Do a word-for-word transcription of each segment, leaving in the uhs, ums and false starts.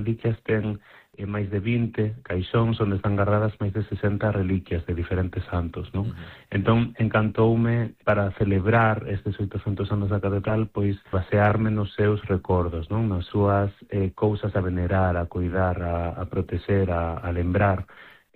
reliquias ten eh, máis de vinte caixóns onde están guardadas máis de sesenta reliquias de diferentes santos, non? Uh-huh. Entón, encantoume para celebrar estes oitocentos anos da catedral, pois basearme nos seus recordos, non? Nas súas eh, cousas a venerar, a cuidar, a, a proteger, a, a lembrar.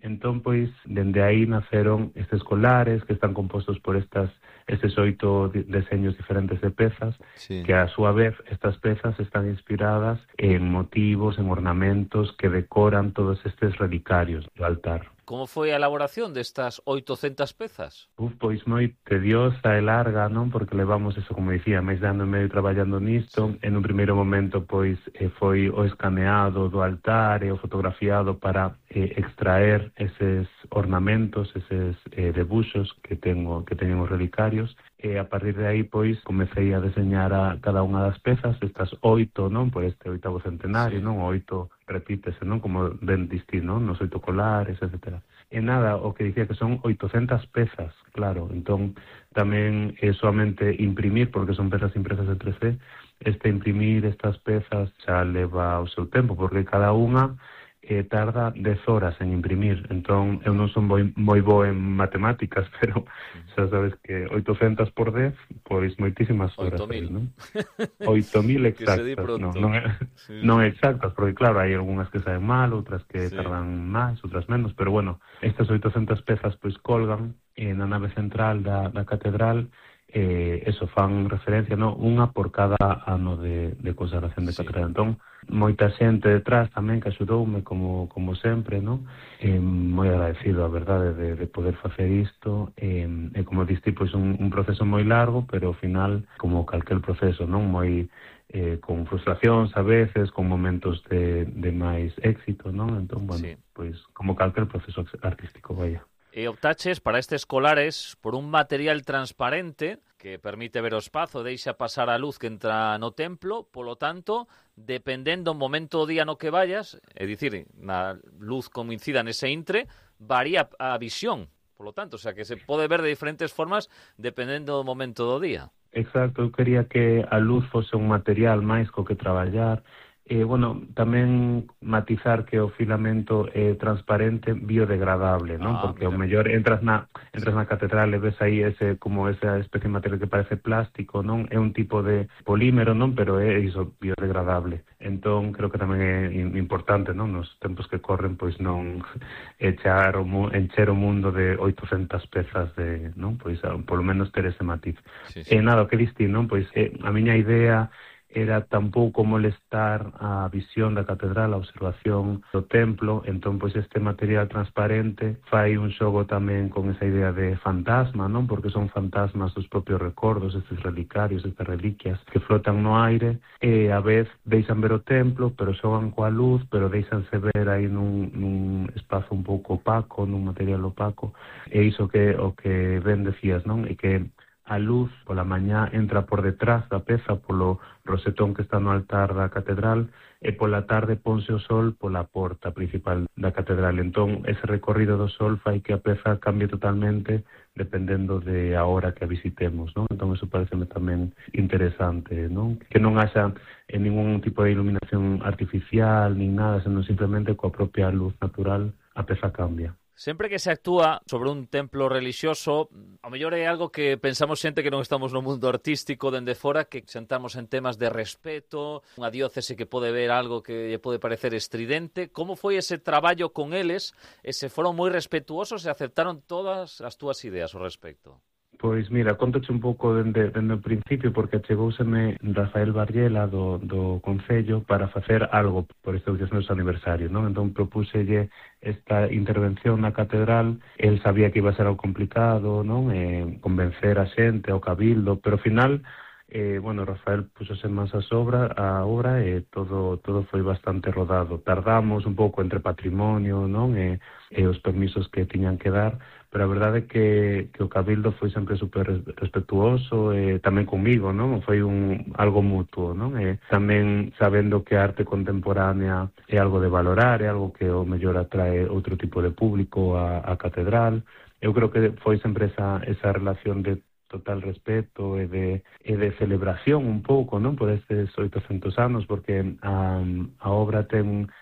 Entón, pois, dende aí naceron estes colares que están compostos por estas estes oito deseños diferentes de pezas, sí. Que a súa vez estas pezas están inspiradas en motivos, en ornamentos que decoran todos estes relicarios do altar. Como foi a elaboración destas oitocentas pezas? Uf, pois moi tediosa e larga, non? Porque levamos eso, como dicía, máis de ano e medio traballando nisto. Sí. En un primeiro momento, pois, eh, foi o escaneado do altar e o fotografiado para eh, extraer eses ornamentos, eses eh, debuxos que tengo, que teñen os relicarios. E a partir de aí, pois, comecei a deseñar a cada unha das pezas, estas oito, non? Por este oitavo centenario, sí. Non? Oito repítese, non? Como ben distinto, non? Nos oito colares, etcétera. E nada, o que dicía que son oitocentas pezas, claro. Entón, tamén é solamente imprimir, porque son pezas impresas en tres D, este imprimir estas pezas xa leva o seu tempo, porque cada unha eh, tarda dez horas en imprimir. Entón, eu non son moi, moi bo en matemáticas, pero xa sabes que oitocentas por dez, pois moitísimas horas. oito mil. Non? oito mil exactas. Non, non, é, sí. Non exactas, porque claro, hai algunhas que saen mal, outras que sí. Tardan máis, outras menos, pero bueno, estas oitocentas pezas pois colgan eh, na nave central da, da catedral. Eh, eso fan referencia, no, unha por cada ano de, de consagración de sí. Catedral. Entón, moita xente detrás tamén que axudoume, como, como sempre, no? Eh, moi agradecido, a verdade, de, de poder facer isto. Eh, e como diste, pois, un, un proceso moi largo, pero ao final, como calquel proceso, non? Moi eh, con frustracións a veces, con momentos de, de máis éxito, non? Entón, bueno, sí. Pois, como calquel proceso artístico, vaya. E optaches para estes colares por un material transparente que permite ver o espazo, deixa pasar a luz que entra no templo, polo tanto, dependendo do momento do día no que vayas, é dicir, na luz coincida nese intre, varía a visión, polo tanto, o sea, que se pode ver de diferentes formas dependendo do momento do día. Exacto, eu quería que a luz fose un material máis co que traballar. E, bueno, tamén matizar que o filamento é transparente, biodegradable, non? Ah, porque mira. O mellor entras na entras na catedral e ves aí ese como esa especie de material que parece plástico, non? É un tipo de polímero, non? Pero é iso, biodegradable. Entón, creo que tamén é importante, non? Nos tempos que corren, pois non echar o encher o mundo de oitocentas pezas de, non? Pois, polo menos ter ese matiz. Sí, sí. E nada, o que diste, non? Pois eh, a miña idea era tampouco molestar a visión da catedral, a observación do templo. Entón, pois, este material transparente fai un xogo tamén con esa idea de fantasma, non? Porque son fantasmas dos propios recordos, estes relicarios, estas reliquias que flotan no aire, e a vez deixan ver o templo, pero xogan coa luz, pero deixanse ver aí nun, nun espazo un pouco opaco, nun material opaco, e iso que o que ben decías, non? E que a luz pola mañá entra por detrás da peza, polo rosetón que está no altar da catedral, e pola tarde ponse o sol pola porta principal da catedral. Entón, ese recorrido do sol fai que a peza cambie totalmente dependendo de a hora que a visitemos, non? Entón, eso pareceme tamén interesante, non? Que non haxa en ningún tipo de iluminación artificial, nin nada, senón simplemente coa propia luz natural a peza cambia. Sempre que se actúa sobre un templo relixioso, ao mellor é algo que pensamos xente que non estamos no mundo artístico dende fora, que sentamos en temas de respeto, unha diócese que pode ver algo que lle pode parecer estridente. Como foi ese traballo con eles? E se foron moi respetuosos e aceptaron todas as túas ideas ao respecto? Pois mira, contoche un pouco dende, dende o principio, porque achegouseme Rafael Barriela do, do Concello para facer algo por este oitocentos aniversario, non? Entón propúxelle esta intervención na catedral. El sabía que iba a ser algo complicado, non? Eh, convencer a xente, ao cabildo, pero ao final, eh, bueno, Rafael puxose máis a obra, a obra e todo todo foi bastante rodado. Tardamos un pouco entre patrimonio, non? E, e os permisos que tiñan que dar, pero a verdade é que, que o Cabildo foi sempre super respetuoso, e tamén comigo, non? Foi un algo mutuo, non? E tamén sabendo que a arte contemporánea é algo de valorar, é algo que o mellor atrae outro tipo de público a, a catedral. Eu creo que foi sempre esa, esa relación de total respeto e de, e de celebración un pouco, non? Por estes oitocentos anos, porque a, a obra ten